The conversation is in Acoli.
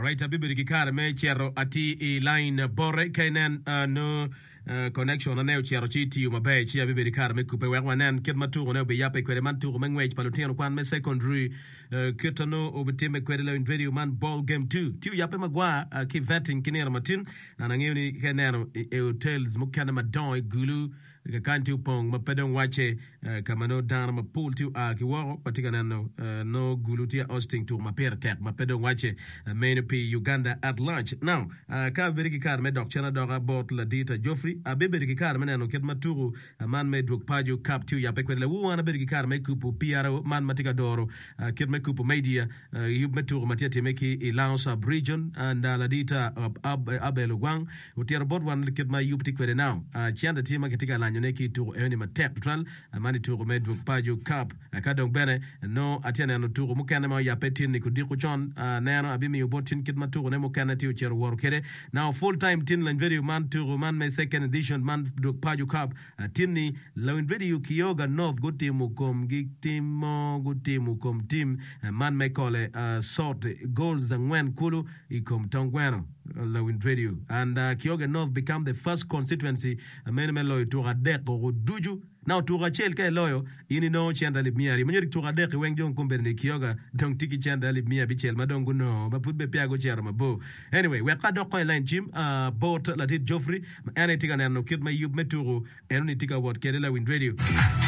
Alright, abibedo ki kare me cito atir i line bote ka inen nongo connection ane ocito ci tiyo maber ci abibedo ki kare me kubbe wek wanen kit ma tukone obiyabbe kwede man tuko me ngwec pa lutino kwan me secondary kit ma nongo obitimme kwede lawiny radio man ball game 2 tye oyabbe magwar ki vetting ki nino matin an angeyo ni ka ineno i hotels mukene madongo i Gulu Kakany tye opong ma pe dong wacce, ka ma nongo dano mapol tye oa ki woko. Watye ka neno nongo Gulu tye hosting tuko ma pire tek ma pe dong wacce meno pi Uganda at large. Now, ka abedo ki kare me dok cen adoka bot ladita Geoffrey, abibedo ki kare me neno kit ma tuko man me dwog paco cup tye oyabbe kwede. Lawor an abedo ki kare me kubo PRO man ma tye ka doro kit me kubo media yub me tuko ma tye ka timme ki i Lango Sub Region and ladita Abel Ogwang Otito bot wan kit ma yub tye kwede now. Cente tye ma kitye ka lanyone ki i tuko enoni matek tutwal, man i tuko me Dwog Paco Cup. Ka dong bene nongo atye ka neno tuko mukene ma oyabbe tin-ni kudiko con, aneno abimiyo bot tin kit ma tukone mukene tye ocito woto kwede. Now full time tin lany vedio man tuko man me second edition man Dwog Paco Cup tin-ni lawiny vedio Kioga North gutimo komgi tim mo gutimo kom tim man me kole sort goals angwen kulu i kom tong gweno lawiny radio and Kioga North become the first constituency meno me loyo tuko adek koko ducu. Now tuko acel ka iloyo in inongo cente alip miya aryo ma nyuto tuko adek-ki weng dong kombeddi ni Kioga dong tye ki cente alip miya abicel ma dong gunongo ma pud bene peya gucito mabor. Anyway wek ka adok kong i line cim bot ladit Geoffrey ma en aye tye ka neno kit ma yub me tuko Enoni tye ka wot kede lawiny radio.